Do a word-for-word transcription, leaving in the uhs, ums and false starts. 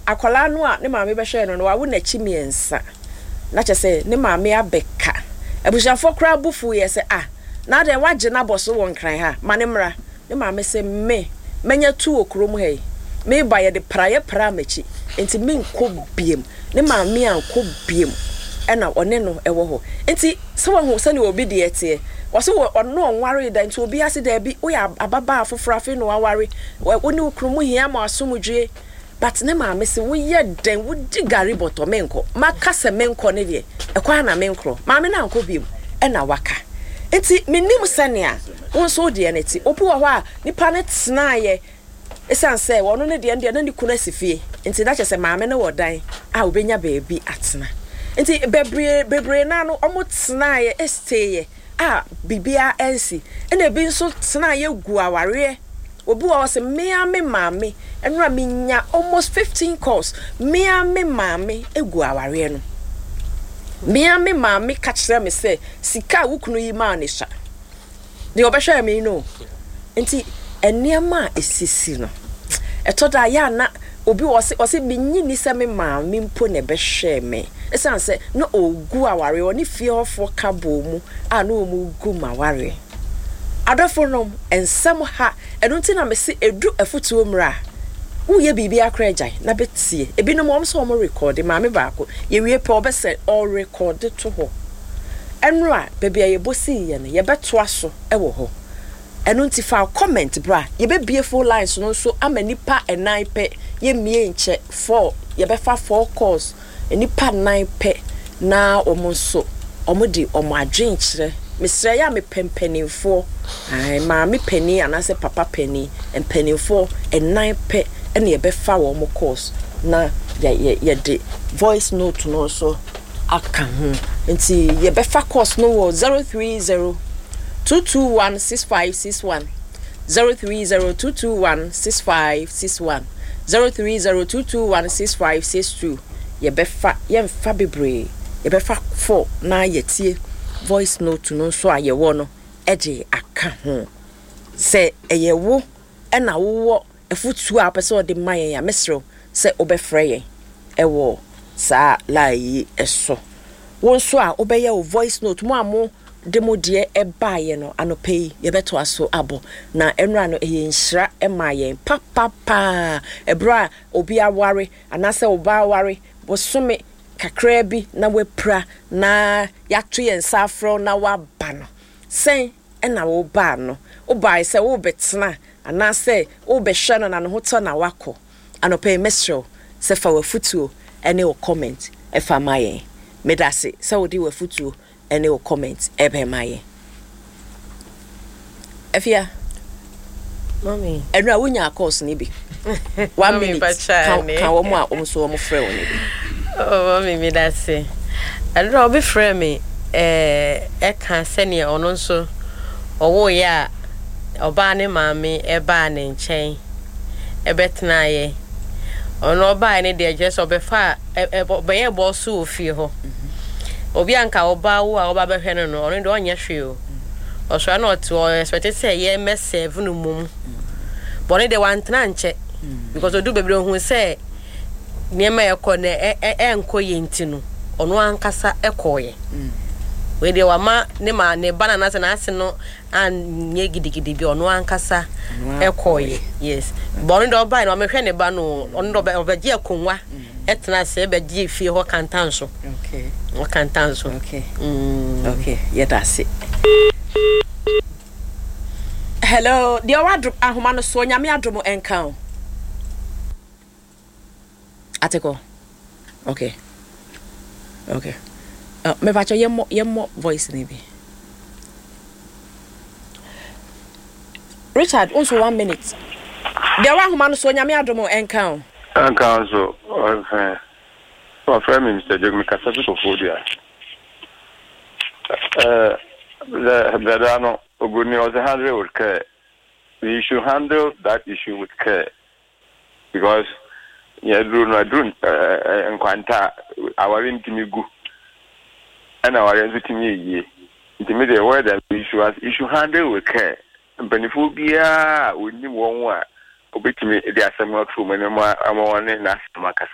Akwadaa no a ne maame bɛhwɛɛ no no, wawo n'akyi mmiɛnsa, na kyerɛ sɛ ne maame abɛka. Abusuafoɔ koraa bo fuiɛ sɛ, Ah, na adɛn woagye no abɔ so wɔ Nkran ha? Ma no mmra. Ne maame se, Me, manya tu wɔ kurom ha yi. Mereba yɛde praeɛ praa m'akyi, enti menkɔ biom. Ne maame ankɔ biom, ɛna ɔne no wɔ hɔ. Enti sɛ wahu sɛdeɛ obi deɛ teɛ. Ɔse wɔ ɔno ɔnwaree da, nti obiara se daabi, woyɛ ababaa foforɔ afei na waware, wo ne wo kunu mohia mo asomdwoeɛ. But ne maame se woyɛ dɛn wodi gari bɔtɔ menkɔ maka sɛ menkɔ ne deɛ ɛkɔ ara na menkorɔ maame no ankɔ biom ɛna waka nti menim sɛnea wo nso wo deɛ no te obi wɔ hɔ a nipa no tenaeɛ ɛsiane sɛ ɔno ne deɛ no deɛ na ne kunu asi fie nti na kyerɛ sɛ maame no wɔ dan a obɛnya baabi atena nti bebree bebree naa no ɔmo tenaeɛ ɛsteeɛ a biribiara ansi ɛna ebi nso tenaeɛ gu awareɛ. Obi wɔ hɔ ɔse me ara me maame ɛnora me nya almost fifteen calls me ara me maame egu awareɛ no me ara me maame ka kyerɛ me sɛ sika a wo kunu yi maa ne sua deɛ ɔbɛhwɛɛ me no nti nneɛma a esisi no ɛtɔ da yɛ ana obi wɔ ɔse ɔse menyi ni sɛ me maame mpo na ɛbɛhwɛɛ me ɛsiane sɛ na ɔgu awareɛ ɔne fie hɔfoɔ ka bɔɔ mu a na wɔn gu ma awareɛ. Adɔfonom, nsɛm ha, ɛno nti na mese ɛdu afutuo mmerɛ a, woyɛ biribiara koraa gyae na bɛtie. Ebinom wɔn sɛ wɔn rekɔɔde, maame baako, yɛwie pɛ ɔbɛsɛ ɔrekɔɔde to hɔ. Ɛnora, baabi a yɛbɔ siiɛ no, yɛbɛtoa so wɔ hɔ. Ɛno nti fa wo comment bra, yɛbɛbue phone lines no nso ama nnipa nnan pɛ, yɛmmie nkyɛ, four, yɛbɛfa four calls. Nnipa nnan pɛ na wɔn nso wɔde wɔn adwenkyerɛ. Mesrɛ yɛ a mepɛ mpanimfoɔ, ae, maame panin anaasɛ papa panin, mpanimfoɔ nnan pɛ na yɛbɛfa wɔn course na yɛ yɛ yɛde voice note no nso aka ho. Nti yɛbɛfa course no wɔ zero three zero two two one six five six one. zero three zero two two one six five six one zero three zero two two one six five six two Yɛbɛfa, yɛnfa bebree, yɛbɛfa four na yɛatie voice note no nso a yɛwɔ no de aka ho. Sɛ ɛyɛ wo na wowɔ afotuo a wopɛ sɛ wode ma yɛn a, mɛsrɛ wo sɛ wobɛfrɛ yɛn wɔ saa line yi so. Wo nso a wobɛyɛ wo voice note, mo a mo de mo deɛ baeɛ no, anɔpa yi yɛbɛtoa so abɔ. Na ɛnora no ɛyɛ nhyira maa yɛn papapaa. Ɛberɛ a obi aware anaasɛ ɔbaa aware bosome kakraa bi na wapira na yɛato yɛn nsa afrɛ wo na woaba no, sɛn na wobaa no? Wobaeɛ sɛ worebɛtena anaasɛ worebɛhwɛ no na ne ho tɔ na woakɔ? Anɔpa yi mɛsrɛ wo sɛ fa w'afutuo ne wo comment fa ma yɛn. Medase sɛ wode w'afutuo ne wo comment ɛbɛma yɛn. Afia, Mommy. Ɛno a wonya course no bi. One minute ka ka wɔn a wɔn nso wɔn frɛ wɔn bi. Oh, mommy, medase. Ɛno a obi frɛ me ɛɛ ɛka sɛnea ɔno nso ɔwoeɛ a ɔbaa ne maame ɛbaa ne nkyɛn ɛbɛtenaeɛ. Ɔno ɔbaeɛ no deɛ kyerɛ sɛ ɔbɛfaa ɔbɛyɛɛ bɔɔso wɔ fie hɔ. Obi a nka ɔbaa wo a ɔba bɛhwɛ no no, ɔno deɛ ɔnyɛ hwee o. Ɔsɔre na ɔte hɔ, expect sɛ yɛmmɛ serve no mmom. But ɔno deɛ wantena nkyɛ because ɔdu baabi no ɔhu sɛ nneɛma a ɛkɔ no ɛnkɔ yie nti no, ɔno ankasa kɔeɛ. Wei deɛ wama ne ma ne ba no anaasɛ n'ase no anyɛ gidigidi bi ɔno ankasa ɛkɔɔyɛ yes bɔ ɔno deɛ ɔbaeɛ no ɔmehwɛ ne ba no ɔno deɛ ɔbɛgye akonnwa ɛtena ase ɛbɛgye fie hɔ kantan so ɔkantan so okay mm. okay yɛda ase. Hello, deɛ ɔwɔ adom ahoma no soɔ, Nyame adom nka o. Atekɔ. Okay. Okay. Uh, mepakyɛ yɛmmɔ yɛmmɔ voice no bi. Richard, wo nso one minute. Deɛ ɔwɔ ahoma no soɔ, Nyame adom nka o. Nka nso, ɔfɛ. Wɔfrɛ me Mister Joke, mekasa fi Koforidua. Ɛɛ, brɛda no, oburoni ɔsɛ handle with care. You should handle that issue with care because nea aduru no aduru nkwanta a aware ntumi gu ɛna aware nso tumi yɛ yie. Nti me deɛ word a you should you should handle with care. Mpanimfoɔ biara a wɔnim wɔn a obetumi de asɛm no ato wɔn anim ama wɔne n'asɛm akasa.